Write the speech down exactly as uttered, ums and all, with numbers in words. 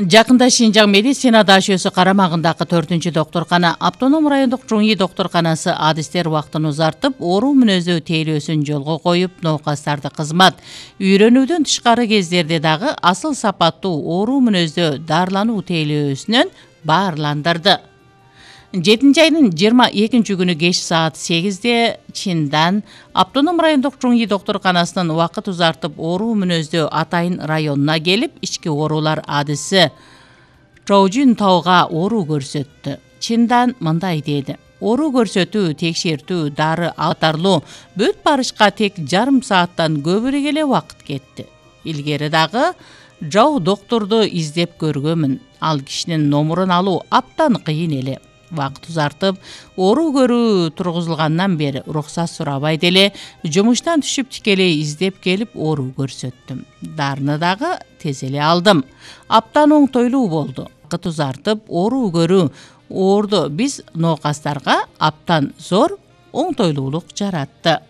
Жакында Шинжаң медицина дашөөсү карамагындагы төртүнчү докторкана автоном райондук Чуңи докторканасы адистер убактын узартып, оору мүнөздүү тейлөөсүн жолго коюп, ноокастарды кызмат, үйрөнүүдөн тышкары кездерде дагы асыл сапаттуу оору мүнөздүү дарылануу тейлөөсүнөн баарландырды. жетинчи айдын жыйырма экинчи күнү кеч саат сегизде Чиндан автоном райондук Чуңи докторканасынын убакыт узартып оору мүнөздүү Атайын районуна келип, ички оорулар адиси Чоужун Тауга оору көрсөттү. Чиндан мындай деди: оору көрсөтүү, текшертүү, дары катарлуу бүт барышка тек жарым сааттан көбүрөөк эле убакыт кетти. Илгери дагы жоо доктурду издеп көргөмүн. Ал кишинин номурун алуу аптан кыйын эле. Убакыт узартып, оору көрүү тургузулгандан бери уруксат сурабай деле жумуштан түшүп тикелей издеп келип оору көрсөттүм. Дарыны дагы тез эле алдым. Аптан оңтойлуу болду. Убакыт узартып, оору көрүү оорду биз ноокастарга аптан зор оңтойлуулук жаратты.